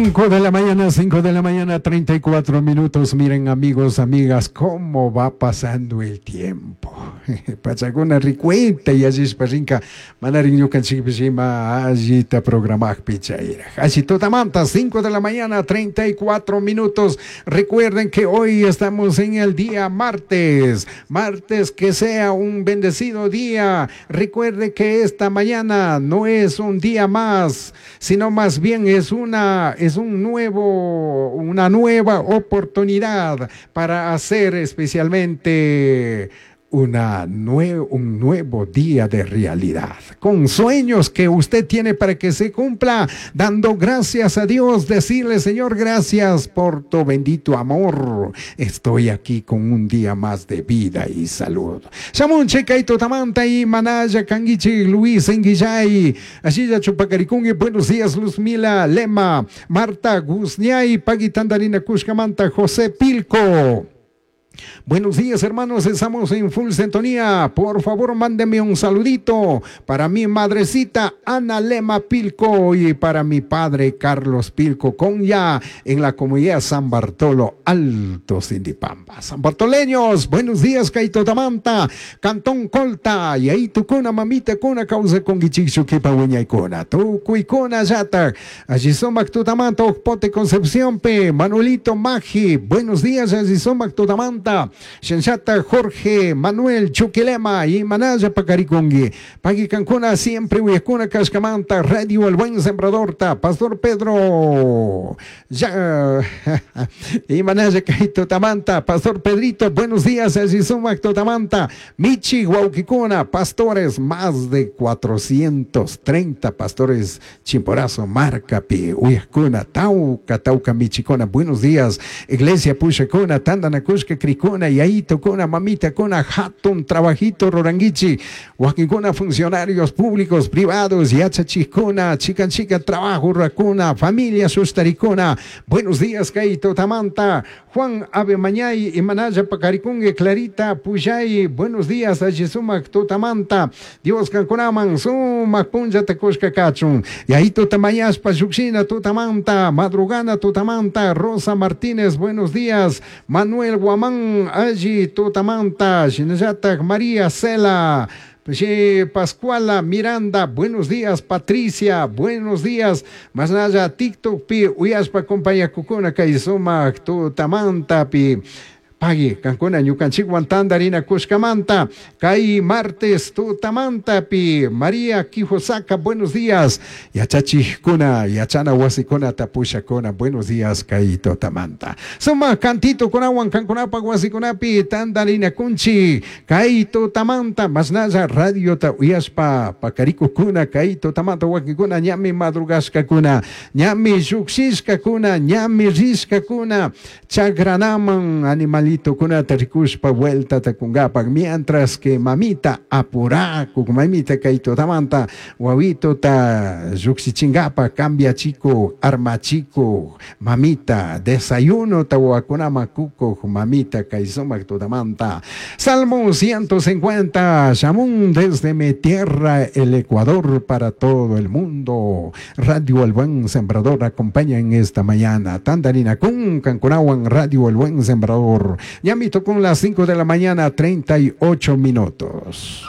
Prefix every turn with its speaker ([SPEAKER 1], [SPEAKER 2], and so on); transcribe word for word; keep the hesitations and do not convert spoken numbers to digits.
[SPEAKER 1] Cinco de la mañana, cinco de la mañana, treinta y cuatro minutos. Miren, amigos, amigas, cómo va pasando el tiempo. Pachakuna ricuenta y allishpa rinka manarin ñukanchikpish ima allita programakpi chayraj. Allí tutamanta, cinco de la mañana, treinta y cuatro minutos. Recuerden que hoy estamos en el día martes. Martes, que sea un bendecido día. Recuerde que esta mañana no es un día más, sino más bien es una, es un nuevo, una nueva oportunidad para hacer especialmente una nue-, un nuevo día de realidad, con sueños que usted tiene para que se cumpla, dando gracias a Dios, decirle: Señor, gracias por tu bendito amor, estoy aquí con un día más de vida y salud. Shamunchik kay tutamanta y Manaya Kanguichi, Luis Enguillay, Ashilla Chupacaricungui, buenos días, Luzmila Lema, Marta Guzñay, Paguitandarina Cushcamanta, José Pilco. Buenos días, hermanos, estamos en full sintonía. Por favor, mándenme un saludito para mi madrecita Ana Lema Pilco y para mi padre Carlos Pilco Conya en la comunidad San Bartolo Alto Sindipamba. San Bartoleños, buenos días, kay tutamanta, Cantón Colta, y ahí tukuna, mamita kuna, causa con guichichu kipa wiñaykuna, tukuykuna yata. Allí sumak tutamanta, Ocpote Concepción P, Manuelito Magi, buenos días, allí sumak tutamanta. Shenshata Jorge Manuel Chuquilema y Manaya Pacaricungui. Pagui Cancuna siempre Uyacuna Cascamanta, Radio El Buen Sembrador, ta, Pastor Pedro. Ya, y Manaya Kaito Tamanta, Pastor Pedrito, buenos días, Azizumac Totamanta, Michi Guauquicuna, pastores, más de cuatrocientos treinta pastores, Chimborazo, Marcapi, Uyacuna, Tauca, Tauca, Michicona, buenos días, Iglesia Puchacuna, Tandanacushka, Cricuna, Yaito, Cuna, Mamita, Cuna, Hatun, Trabajito, Roranguichi, Huaquicuna, funcionarios públicos, privados, Yachachicuna, Chican Chica, Trabajo, Racuna, Familia Sustaricuna, buenos días, Kaito Tamanta, Juan Ave Mañay, y Manaya Pacaricungue, Clarita Puyay, buenos días, Ayisumac Totamanta, Dios Cancunaman, Sumac Punja Tecushka Cachun, Yaito Tamayas Payuxina Totamanta, Madrugana Totamanta, Rosa Martínez, buenos días, Manuel Guamán, Allí Totamanta, Shinayata María Cela, Sí, Pascuala Miranda, buenos días, Patricia, buenos días, más nada, TikTok pi, uyaspa compañía cucuna, kaizuma, tutamanta pi. Pagui, Cancuna, ñukanchik Tandarina, Cushcamanta, Kai martes, tutamanta pi, María Quijosaka, buenos días, Yachachijkuna, Yachana Wasikuna, Tapushakuna, buenos días, Kai tutamanta. Suma, cantito, kunawan, Cancunapa, Wasikunapi, Tandarina, Kunchi, Kai tutamanta, Masnaya, Radio ta uyaspa, Pacaricukuna, Kai tutamanta, Wakikuna, ñami madrugashkakuna, ñami yuxishkakuna, ñami rishkakuna, Chagranaman, animal kunata rikushpa vuelta takungapak, mientras que mamita apuraku, mamita kaito tamanta, wawito ta yuxichingapa, cambia chico, arma chico, mamita, desayuno ta wakunama kuko, mamita kaisomak tutamanta. Salmo ciento cincuenta, Shamun desde mi tierra, el Ecuador para todo el mundo. Radio El Buen Sembrador acompaña en esta mañana. Tandarina kun, Cancunawan, Radio El Buen Sembrador. Ya me tocó las cinco de la mañana, treinta y ocho minutos.